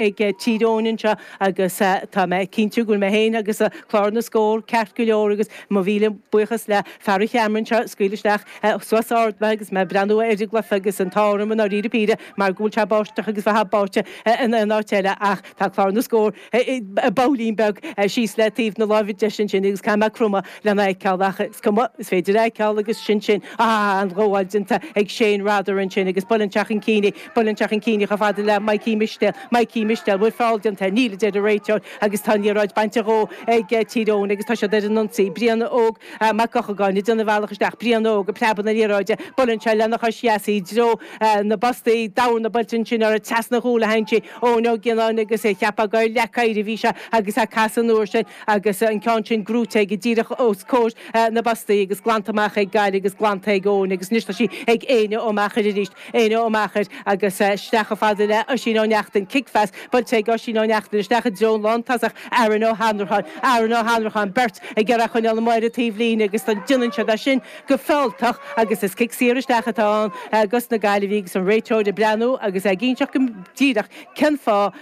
Ag Tír Eoghain anseo agus tá mé cinnte go bhfuil mé féin agus Clár na Scór ceart go leor agus mo mhíle buíochas le fear an cheamara anseo ag scaoileadh isteach suas ard mé agus mé ag breathnú ar an gcluiche agus an t-ádh orm i ndáiríre píre mar go bhfuil sé báisteach agus bheifeá báite in aon áit eile ach tá Clár na Scór babhailín beag síos le taobh na láimhe deise ansin agus caithfidh mé cromadh lena fheiceáil ach is cuma, is féidir a fheiceáil agus sin sin. Ah, an ghabháil déanta ag Shane Rather ansin agus buaileann sé chun cinn í, buaileann sé chun cinn í chomh fada le Mikey Mistéil, Mikey Mistéil, bhfuil feall déanta air? Níl, a deir an réiteoir agus tá an liathróid bainte dhó ag Tír Eoghain agus tá siad ar an ionsaí. Brian Óg Mac Eochagáin ag déanamh a bhealach isteach, Brian Óg ag preabadh na liathróide, buaileann sé lena chois dheas í i dtreo na bpostaí, dorn buailte ansin uirthi, trasna an chúil a théann sí, Eoin Ó Gionnáin agus é cheapfá gur leac oighir a bhí sé agus é ag casadh an uair sin agus an ceann sin gnóite aige díreach os comhair na bpostaí agus glanta amach ag Gaillimh agus glanta ag Eoin agus anois tá sí ag Éanna Ó Meachair arís, Éanna Ó Meachair agus isteach chomh fada le Oisín Ó Neachtain, cic-phas buailte ag Oisín Ó Neachtain isteach i dtreo an lántosach Aaron Ó hAnnracháin, Aaron Ó hAnnracháin, beirt ag iarraidh a choinneáil amuigh ar an taobhlíne agus déanann siad é sin go fealltach agus is cic saor isteach atá ann dos na Gaillimhigh agus an réiteoir ag breathnú agus é ag inseacht go díreach cén fáth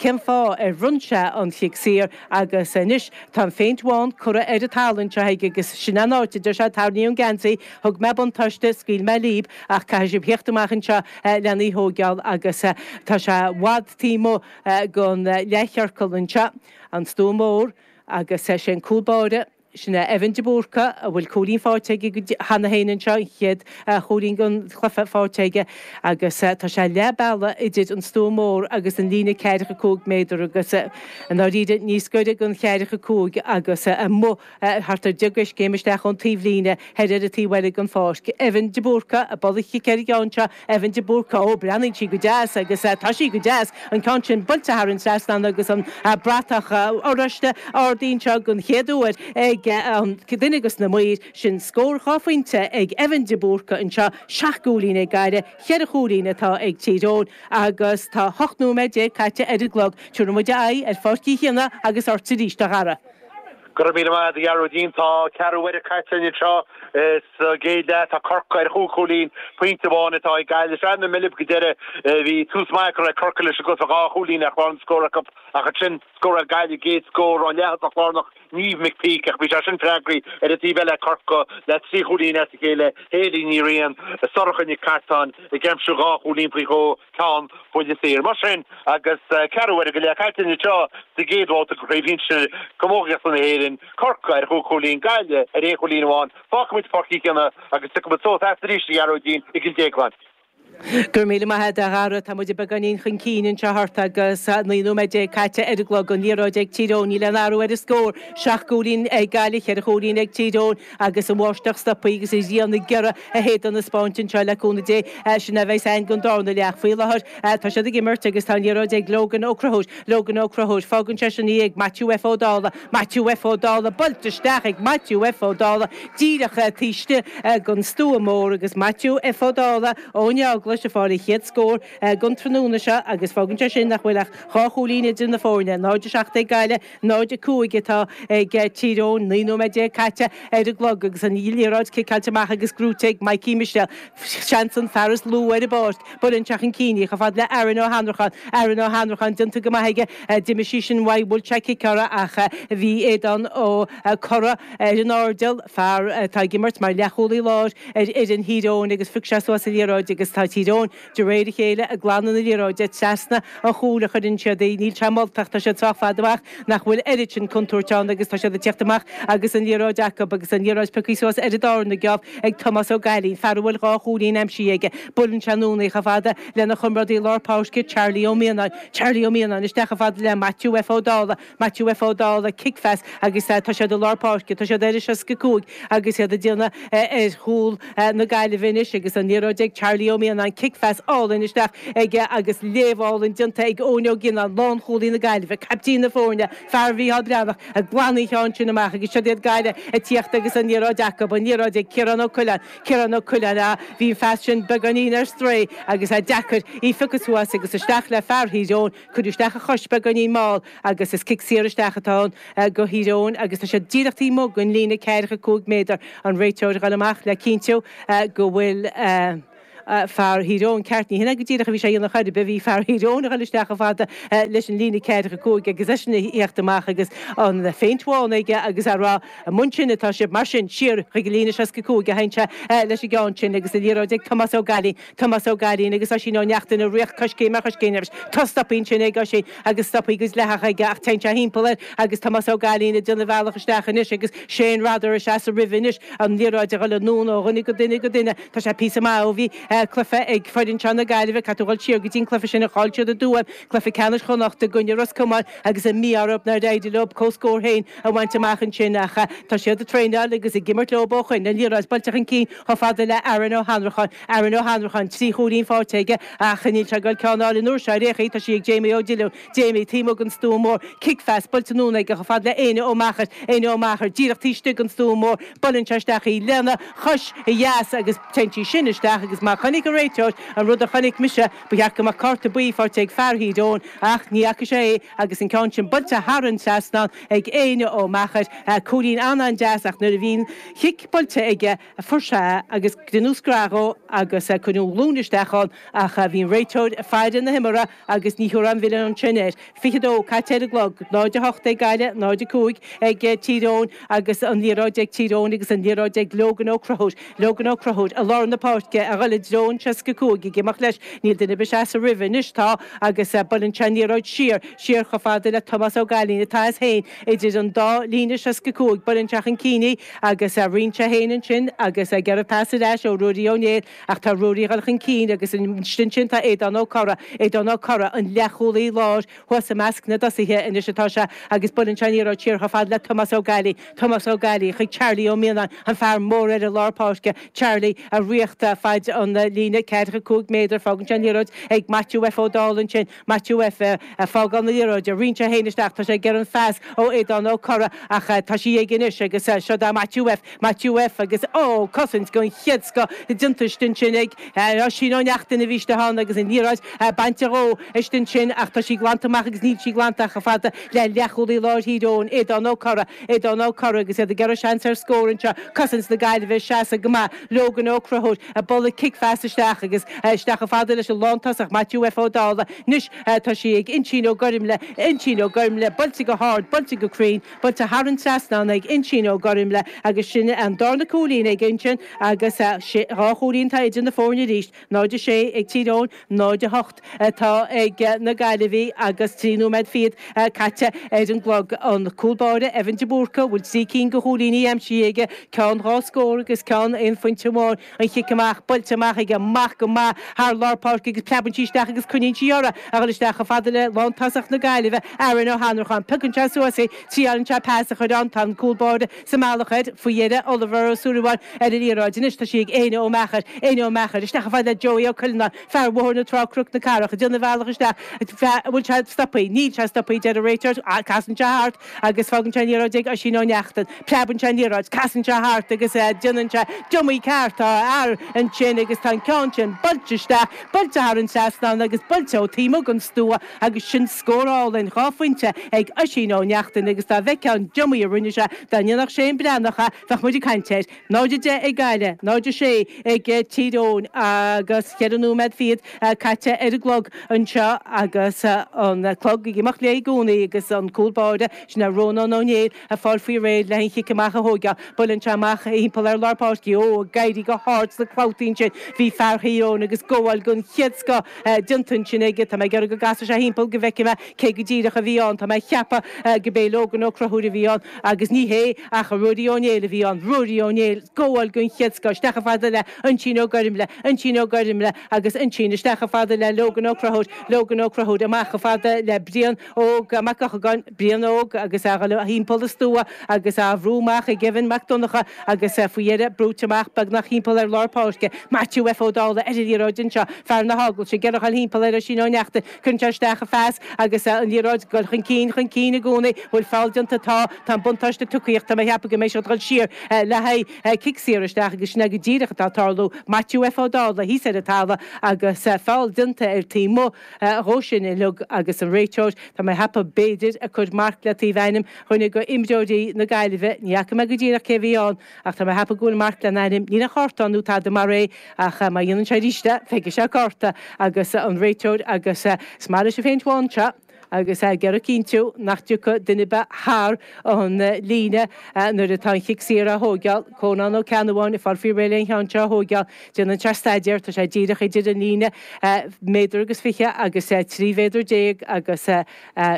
cén fáth ar bhronn sé an chic saor agus anois tá an phéint bhán curtha ar an talamh anseo aige agus sin an áit a deir sé tarraing an geansaí, thug mé buntáiste, scaoil mé líb ach caithfidh sibh theacht amach anseo lena í thóigeáil agus tá sé i bhfad taobh amuigh den leathchiorcal anseo, an Stua Mór agus sé an cúl báire. Sin é Evan de Búrca, a bhfuil cúilín faighte aige cheana féin anseo, an chéad chúilín den chluiche faighte aige agus tá sé leath bealaigh idir an stua mór agus an líne ceathracha 5 méadar agus i ndáiríre níos gaire don cheathracha 5 agus amuigh thart ar 10 gcoiscéim isteach ón taobhlíne thoir ar an taobh eile den pháirc. Evan de Búrca ag bualadh chic ar an gceann seo Evan de Búrca, Ó, breathnaíonn sí go deas agus tá sí go deas, an ceann sin buailte thar an trasnán agus an bratach oráiste ardaithe anseo den chéad uair ag an duine dos na maoir. Sin scór dhá phointe ag Evan de Búrca anseo, seacht gcúilín ag Gaillimh, cheithre chúilín atá ag Tír Eoghain agus tá 18 nóiméad caite ar an gclog. Tabharfaidh muid aghaidh ar Pháirc Uí Chionnaith agus ort arís, a Dhara. Go raibh míle maith agat, a Ghearóidín. Tá ceathrú uaire caite anseo sa gcéad leath. Tá Corcaigh ar chúig chúilín, pointe amháin atá ag Gaillimh. Sea, na Milib go deireadh. Bhí tús maith curtha ag Corcaigh leis an gcluiche, dhá chúilín ar chlár na scór acu ach ansin scóráil Gaillimh a gcéad scór ón leath-thosach lárnach, Niamh McPeake, ach bhí sé sin freagraithe ar an taobh eile ag Corcaigh le trí chúilín as a chéile, Hayley Ní Riain, Sorcha Nic Cartáin ag aimsiú dhá chúilín faoi dhó. ceann buille saor. Mar sin, agus ceathrú uaire go leith caite anseo sa gcéad bhabhta de Chraobh Shinsir Camógaíochta na hÉireann, Corcaigh ar chúig chúilín, Gaillimh ar aon chúilín amháin, fágfaimid Páirc Uí Chionnaith agus tiocfaimid suas agat arís, a Ghearóidín, i gCill Déagláin. Go raibh míle maith agat, a Dhara. Tá muid beagáinín chun cinn anseo ort agus 19 nóiméad caite ar an gclog. An liathróid ag Tír Eoghain, níl aon athrú ar an scór. Seacht gcúilín ag Gaillimh, cheithre chúilín ag Tír Eoghain. Agus an bháisteach stoptha agus an ghrian ag iarraidh a héadan a 'spáint anseo le cúnamh Dé, sin é a bheas againn don darna leath. Faoi láthair tá siad ag imirt agus tá an liathróid ag Logan Ó Conchúir. Logan Ó Conchúir. Fágann seisean í ag Maitiú F Ó Dálaigh. Maitiú F Ó Dálaigh. Buailte isteach ag Maitiú F Ó Dálaigh díreach taobh istigh den stua mór agus Maitiú F Ó Dálaigh ón Eaglais ag fáil a chéad scór den tráthnóna seo agus fágann sé sin nach bhfuil ach dhá chúilín idir na foirne, 0-7 ag Gaillimh, 0-5 atá ag Tír Eoghain, 19 nóiméad caite ar an gclog agus an liathróid ciceáilte amach agus gnóite ag Mikey Mistéil. Seans an fear is lú ar an bpáirc. Buaileann sé chun cinn í chomh fada le Aaron Ó hAnnracháin. Aaron Ó Hannracháin déanta go maith aige. D'imigh sí sin uaidh, bhuail sé cic uirthi ach bhí Aodán Ó Corra ar an airdeall, fear atá ag imirt mar leathchúlaí láir ar fhoireann Thír Eoghain agus phioc sé suas an liathróid agus tá Tír Eoghain De réir a chéile, ag glanadh na liathróide trasna an chúil a chuireann siad í. Níl sé moltach, tá siad sách fada amach nach bhfuil oiread sin contúirt ann agus tá siad ag tíocht amach agus an liathróid acu agus an liathróid pioctha suas ar an darna geábh ag Tomás Ó Gailín, fear a bhfuil dhá chúilín aimsithe aige. Buaileann sé anonn í chomh fada lena chomrádaí lár páirce, Charlie Ó Mianáin. Charlie Ó Mianáin isteach chomh fada le Maitiú F Ó Dálaigh. Maitiú F Ó Dálaigh, cic-phas agus tá siad i lár páirce, tá siad ar an 65 agus iad ag déanamh ar chúl na Gaillimhe anois agus an liathróid ag Charlie Ó Mianáin, cic-phas álainn isteach aige agus léamh álainn déanta ag Eoin Ó Gionnáin, lánchúlaí na Gaillimhe, caiptín na foirne, fear Mhícheál Breathnach, ag glanadh an cheann sin amach agus siod iad Gaillimh ag tíocht agus an liathróid acu, an liathróid ag Ciarán Ó Coileáin, Ciarán Ó Coileáin, ah, bhí an phas sin beagáinín ar strae agus é deacair í a phiocadh suas agus isteach le fear Thír Eoghain, Cuireadh isteach a chois beagáinín mall agus is cic saor isteach atá ann do Thír Eoghain agus tá siad díreach taobh amuigh den líne 45 méadar. An réiteoir ag dul amach le cinntiú go bhfuil. fear Thír Eoghain ceart, ní hin é go díreach a bhí sé a dhéanamh chor ar bith, bhí fear Thír Eoghain a dhul isteach chomh fada leis an líne ceathracha 5 agus eisean a theacht amach agus an phéint bhán aige agus á rá amuigh ansin atá sibh, mar sin, siar chuig an líne 65 a théann sé leis an gceann sin agus an liathróid ag Tomás Ó Gailín, Tomás Ó Gailín agus Oisín Ó Neachtain ag rith coiscéim ar choiscéim leis. Tá stoptha ansin ag Oisín agus stoptha go dleathach aige ach téann sé thimpeall air agus Tomás Ó Gailín ag déanamh a bhealach isteach anois agus Shane Rodder ag seasamh roimhe anois, an liathróid ag dul anonn ó dhuine go duine go duine. Tá sé píosa maith ó bhí cluiche ag foireann seo na Gaillimhe, caithfidh tú a dhul siar go dtí an cluiche sin a chaill siad i dTuaim, cluiche ceannais Chonnacht i gcoinne Ros Comáin agus an mí-ádh orthu nár éirigh leo comhscór féin a bhaint amach ansin ach tá siad ag traenáil agus ag imirt leo ó shoin. An liathróid buailte chun cinn chomh fada le Aaron Ó hAnnracháin. Aaron Ó hAnnracháin, 3 chúilín faighte aige ach níl sé ag dul ceann a fháil an uair seo ar aon chaoi. Tá sí ag Jamie Ó Diollúin. Jamie taobh amuigh den stua mór. Cic phas buailte anonn aige chomh fada le Éanna Ó Meachair. Éanna Ó Meachair díreach taobh istigh den stua mór. Buaileann sé isteach í lena chois dheas agus téann sí sin isteach agus má chonaic an réiteoir an rud a chonaic mise, ba cheart go mbeadh cárta buí faighte ag fear Thír Eoghain ach ní fhaca sé é agus an ceann sin buailte thar an trasnán ag Éanna Ó Meachair. Cúilín an-an-deas ach nuair a bhí an chic buailte aige, Fuair sé é agus deineadh scread dhó agus cuireadh an ghlúin isteach ann ach bhí an réiteoir ag faire na himeartha agus ní thiúrfá an mhilleán sin air. 22 caite ar an gclog, 0-8 ag Gaillimh, 0-5 ag Tír Eoghain agus an liathróid ag Tír Eoghain agus an liathróid ag Logan Ó Conchúir. Logan Ó Conchúir i lár na páirce a dhul i dtreo an 65 ag imeacht leis. Níl duine ar bith ag seasamh roimhe anois, tá agus buaileann sé an liathróid siar, siar chomh fada le Tomás Ó Gailín atá as féin idir an dá líne 65. Buaileann sé chun cinn í. Agus roinn sé féin ansin agus ag iarraidh pas ar ais ó Ruairí Ó Néill ach tá Ruairí ag dul chun cinn agus ansin tá Aodán Ó Corra, Aodán Ó Corra, an leathchúlaí láir thuas i measc na dtosaithe anois atá sé agus buaileann sé an liathróid siar chomh fada le Tomás Ó Gailí, Tomás Ó Gailí chuig Charlie Ó Mianáin, an fear mór ar an lár páirce, Charlie ag ritheacht faid an líne ceathracha 5 méadar, fágann sé an liathróid ag Maitiú F Ó Dálaigh ansin. Maitiú F. Ag fágáil na liathróide, roinn sé féin isteach, tá sé ag iarraidh an phas ó Aodán Ó Corra ach tá sí aige anois agus seo do Maitiú F. Maitiú F. agus ó, cosaint den chéad scoth déanta istigh ansin ag Oisín Ó Neachtain a bhí istigh ann agus an liathróid bainte dhó istigh ansin ach tá sí glanta amach agus níl sí glanta ach chomh fada le leathchúlaí láir Thír Eoghain, Aodán Ó Corra. Aodán Ó Corra agus iad ag iarraidh seans ar scór anseo, cosaint na Gaillimhe ag seasamh go maith, Logan Ó Conchúir ag bualadh cic phas isteach agus isteach chomh fada leis an lántosach Maitiú F Ó Dálaigh. Anois tá sí ag Uinsín Ó Gormlaith, Uinsín Ó Gormlaith, buailte go hard, buailte go cruinn, buailte thar an trasnán ag Uinsín Ó Gormlaith agus sin an darna cúilín ag Uinsín agus dhá chúilín atá idir na foirne arís. 0-6 ag Tír Eoghain, 0-8 atá ag na Gaillimhigh agus 3 nóiméad fichead caite ar an gclog. An cúl báire, Evan de Búrca, a bhfuil 3 cinn de chúilíní aimsithe aige, ceann dhá scór agus ceann aon phointe amháin. An chic amach buailte amach aige, amach go maith thar lár páirce agus preabann sí isteach agus coinníonn sí uirthi a dhul isteach chomh fada le lántosach na Gaillimhe, Aaron Ó hAnnracháin. Piocann sé suas í, triálann sé pas a chur ann, tá an cúl báire sa mbealach air faoi dheireadh, Oliver Ó Súilleabháin ar an liathróid. Anois tá sí ag Éanna Ó Meachair. Éanna Ó Meachair isteach chomh fada le Joey Ó Cuileanáin, fear Bhóthar na Trá Cnoc na Cathrach, ag déanamh a bhealach isteach. An bhfuil sé stoptha? Níl sé stoptha, deir an réiteoir. Casann sé thart agus fágann sé an liathróid ag Oisín Ó Neachtain. Preabann sé an liathróid, casann sé thart agus déanann sé diomaí ceart. Tá a fhear ansin agus tá an ceann sin buailte isteach, buailte thar an trasnán agus buailte ó taobh amuigh den stua agus sin scór álainn, 2 phointe ag Oisín Ó Neachtain agus dá bhfeicfeá an diomaí a rinne sé, dá ndéanfadh Shane Breathnach é, bheadh muid ag caint air. 0-10 ag Gaillimh, 0-6 ag Tír Eoghain agus cheithre nóiméad fichead caite ar an gclog anseo agus an clog ag imeacht léi i gcónaí agus an cúl báire, sin é Rónán Ó Néill, ag fáil faoi réir le an chic amach a thóigeáil. Buaileann sé amach thimpeall ar lár páirce. Ó, ag éirí go hard sna clabhtaí ansin bhí fear Thír Eoghain agus gabháil den chéad scoth déanta ansin aige. Tá mé ag iarraidh go gcasfaidh sé thimpeall go bhfeicfidh mé cé go díreach a bhí ann. Tá mé ag ceapadh go b'é Logan Ó Conchúir a bhí ann agus ní hé ach Ruairí Ó Néill a bhí ann. Ruairí Ó Néill, gabháil den chéad scoth isteach chomh fada le Oinsín Ó Gormlaith, Oinsín Ó Gormlaith agus Oinsín isteach chomh fada le Logan Ó Conchúir, Logan Ó Conchúir amach chomh fada le Brian Óg Mac Eochagáin, Brian Óg agus é a dhul thimpeall an stua agus á bhrú amach ag Evan Mac Donncha agus faoi dheireadh brúite amach beagnach thimpeall ar lár páirce. Maitiú F Ó Dálaigh ar an liathróid anseo, fear na hEaglaise, ag iarraidh a dhul thimpeall ar Oisín Ó Neachtain. Cuireann sé isteach an phas agus an liathróid ag dul chun cinn, chun cinn i gcónaí. Bhfuil feall déanta? Tá. Tá an buntáiste tugtha ach tá mé ag ceapadh go mbeidh siad ag dul siar le haghaidh cic saor isteach agus sin é go díreach atá ag tarlú. Maitiú F Ó Dálaigh thíos ar an talamh agus feall déanta ar taobh amuigh dhó sin uilig agus an réiteoir, tá mé ag ceapadh, b'fhéidir, ag cur marc le taobh ainm dhuine de imreoirí na Gaillimhe. Ní fhaca mé go díreach cé a bhí ann ach tá mé ag ceapadh go bhfuil marc lena ainm. Níl aon chárta ann nó tada mar é ach. ach má dhéanann sé arís é, feicfidh sé cárta agus an réiteoir agus is maith leis an phéint bhán seo agus é ag iarraidh cinntiú nach dtiocfaidh duine ar bith thar an líne nuair atá an chic saor á thóigeáil. Cónán Ó Ceannabháin ag fáil faoi réir le an cheann seo a thóigeáil. Déanann sé staidéar, tá sé díreach idir an líne méadar agus 20 agus 13 mhéadar agus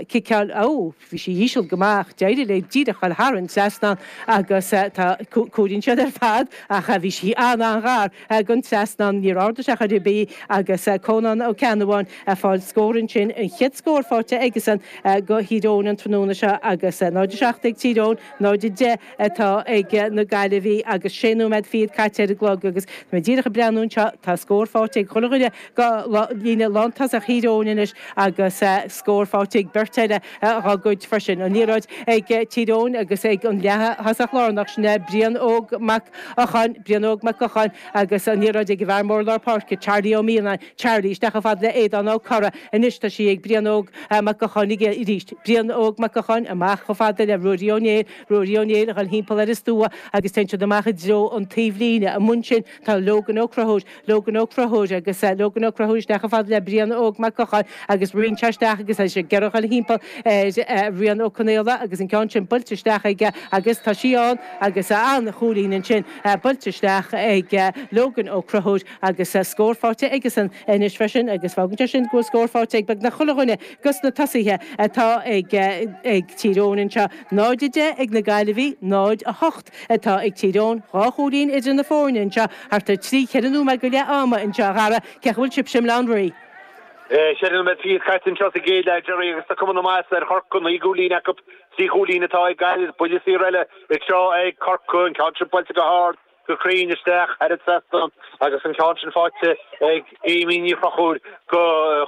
ciceáil, ó, bhí sí íseal go maith ach d'éirigh léi díreach dul thar an trasnán agus tá, cuireann siad ar fad ach bhí sí an-an-ghar don trasnán, níor ardaigh sé chor ar bith agus Cónán Ó Ceannabháin ag fáil scór ansin, an chéad scór faighte aigesan do Thír Eoghain an tráthnóna seo agus 0-7 ag Tír Eoghain, 0-10 atá ag na Gaillimhigh agus sé nóiméad fichead caite ar an gclog agus tá mé díreach ag breathnú anseo, tá scór faighte ag chuile dhuine de líne lántosach Thír Eoghain anois agus scór faighte ag beirt eile dá gcuid freisin. An liathróid ag Tír Eoghain agus ag an leath-thosach lárnach, sin é Brian Óg Mac Eocháin, Brian Óg Mac Eocháin agus an liathróid ag an bhfear mór lár páirce, Charlie Ó Mianáin, Charlie isteach chomh fada le Aodán Ó Corra. Anois tá sí ag Brian Óg Mac Eocháin arís. Brian Óg Mac Eocháin amach chomh fada le Ruairí Ó Néill, Ruairí Ó Néill a dhul thimpeall ar an stua agus téann siad amach i dtreo an taobhlíne. Amuigh ansin tá Logan Ó Conchúir, Logan Ó Conchúir agus Logan Ó Conchúir isteach chomh fada le Brian Óg Mac Eocháin agus roinn sé isteach agus tá sé ag iarraidh a dhul thimpeall ar Rian Ó Conaola agus an ceann sin buailte isteach aige agus tá sí ann agus an-chúilín ansin buailte isteach ag Logan Ó Conchúir agus scór faighte aigesan anois freisin agus fágann sé sin go bhfuil scór faighte ag beagnach chuile dhuine dos na tosaithe atá ag Tír Eoghain anseo. 0-10 ag na Gaillimhigh, 0-8 atá ag Tír Eoghain, dhá chúilín idir na foirne anseo, thart ar thrí, cheithre nóiméad go leath ama anseo, a Dhara, cén chaoi a bhfuil sibhse i mBaile Átha an Rí? Ceithre nóiméad fichead caite anseo sa gcéad leath, Gerry, agus tá cuma na maitheasa ar Chorcaigh, naoi gcúilín acu, trí chúilín atá ag Gaillimh, buille saor eile anseo ag Corcaigh, an ceann sin buailte go hard, go cruinn isteach thar an trasnán agus an ceann sin faighte ag Amy Ní Chonchúir do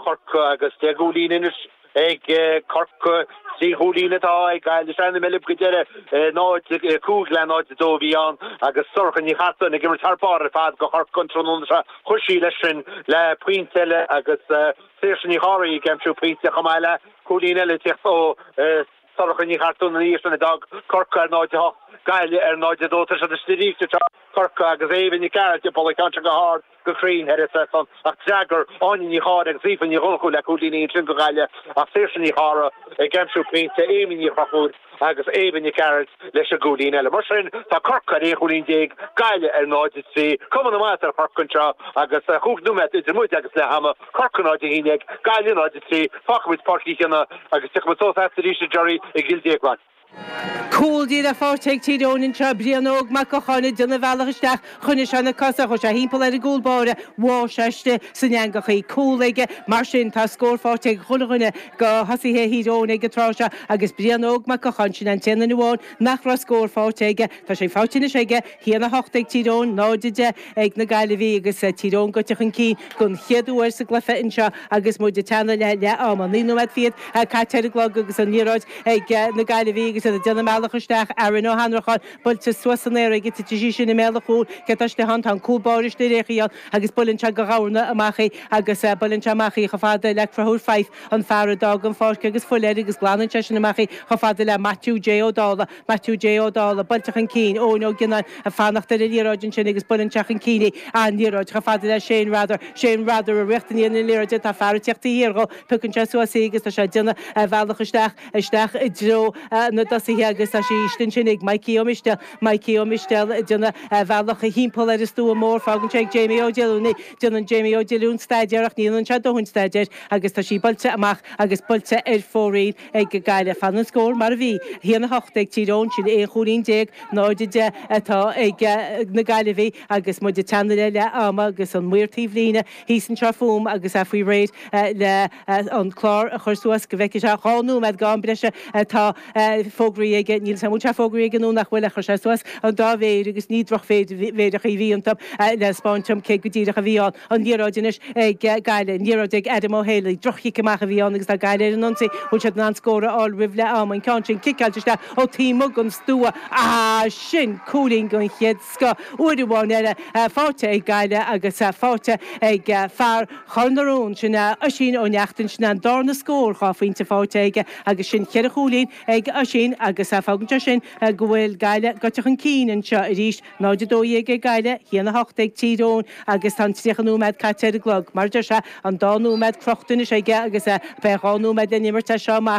Chorcaigh agus 10 gcúilín anois ag Corcaigh, trí chúilín atá ag Gaillimh. Sraith na Meilb go deireadh, 0, 5 le 0, 2 a bhí ann agus Sorcha Ní Chartúin ag imirt thar barr ar fad do Chorcaigh an tráthnóna seo. Chuir sí leis sin le pointe eile agus Saoirse Ní Chárthaigh ag aimsiú pointe chomh maith le cúilín eile ag teacht ó Sorcha Ní Chartúin ina dhiaidh sin a d'fhág Corcaigh ar 0-8, Gaillimh ar 0-2. Tá siad istigh arís anseo, Corcaigh agus Éabha Nic Gearailt ag bualadh an ceann sin go hard, go cruinn thar an trasnán ach d'fhreagair Áine Ní Chárthaigh agus Aoife Ní Dhonnchú le cúilíní ansin do Ghaillimh ach Saoirse Ní Chárthaigh ag aimsiú pointe, Amy Ní Chonchúir agus Éabha Nic Gearailt leis an gcúilín eile. Mar sin, tá Corcaigh ar 11 chúilín, Gaillimh ar 0-3. Cuma na maitheasa ar Chorcaigh anseo agus chúig nóiméad idir muid agus leath ama. Corcaigh 0-11, Gaillimh 0-3. Fágfaimid Páirc Uí Chionnaith agus tiocfaimid suas agat arís, a Gerry, i gCill Déagláin. Cúl díreach faighte ag Tír Eoghain anseo, Brian Óg Mac Eocháin ag déanamh a bhealach isteach, choinnigh sé na cosa, chuaigh sé thimpeall ar an gcúl báire, bháigh sé istigh san eangach í. Cúl aige, mar sin tá scór faighte ag chuile dhuine de thosaithe Thír Eoghain ag an tráth seo agus Brian Óg Mac Eocháin, sin an t-aon duine amháin nach raibh scór faighte aige. Tá sé faighte anois aige, 1-8 ag Tír Eoghain, 0-10 ag na Gaillimhigh agus Tír Eoghain gaibhte chun cinn don chéad uair sa gcluiche anseo agus muid ag teannadh le leath ama. 9 nóiméad fichead caite ar an gclog agus an liathróid ag na Gaillimhigh agus iad ag déanamh a mbealach isteach. Aaron Ó hAnnracháin buailte suas san aer aige, titfidh sí sin i mbéal an chúil. Cé atá istigh ann? Tá an cúl báire istigh ar aon chaoi agus buaileann sé de dhamhna amach í agus buaileann sé amach í chomh fada le Conchúr Fyfe, an fear a d'fhág an pháirc agus fuil air agus glanann sé sin amach í chomh fada le Maitiú J Ó Dálaigh. Maitiú J Ó Dálaigh, buailte chun cinn, Eoin Ó Gionnáin ag fanacht ar an liathróid ansin agus buaileann sé chun cinn í, an liathróid chomh fada le Shane Rather, Shane Rather ag rith i ndiaidh na liathróide, tá fear ag tíocht taobh thiar dhó, piocann sé suas í agus tá sé ag déanamh a bhealach isteach, isteach i dtreo na dtosaithe agus tá sí istigh ansin ag Mikey Ó Mistéil, Mikey Ó Mistéil ag déanamh a bhealach thimpeall ar an stua mór, fágann sé ag Jamie Ó Diolúin í, déanann Jamie Ó Diolúin staidéar ach ní dhéanann sé dóthain staidéir agus tá sí buailte amach agus buailte ar fóraoil. ag Gaillimh. Fanann an scór mar a bhí, 1-8 ag Tír Eoghain, sin 11 chúilín, 0-10 atá ag na Gaillimhigh agus muid ag teannadh le leath ama agus an maor taobhlíne thíos anseo fúm agus é faoi réir le an clár a chur suas go bhfeicfidh sé dhá nóiméad de am breise atá fógraithe aige. Níl 'fhios a'm an bhfuil sé fógraithe aige nó nach bhfuil ach chuir sé suas an dá mhéir agus ní drochmhéireacha a bhí iontu le 'spáint dom cé go díreach a bhí ann. An liathróid anois ag Gaillimh. An liathróid ag Adam Ó Héalaí. Droch-chic amach a bhí ann agus tá Gaillimh ar an ionsaí. Bhfuil siad in ann scór a fháil roimh leath ama? An ceann sin ciceáilte isteach ó taobh amuigh den stua. Ah, sin cúilín den chéad scoth. Uair amháin eile faighte ag Gaillimh agus faighte ag fear Chor na Rón. Sin é Oisín Ó Neachtain. Sin é an darna scór, dhá phointe faighte aige agus sin cheithre chúilín ag Oisín agus fágann. Fágann sé sin go bhfuil Gaillimh gaibhte chun cinn anseo arís, 0-12 ag Gaillimh, 1-8 ag Tír Eoghain agus tá an 30 nóiméad caite ar an gclog. Mar a deir sé, an dá nóiméad crochta anois aige agus beidh 2 nóiméad le n-imirt as seo amach.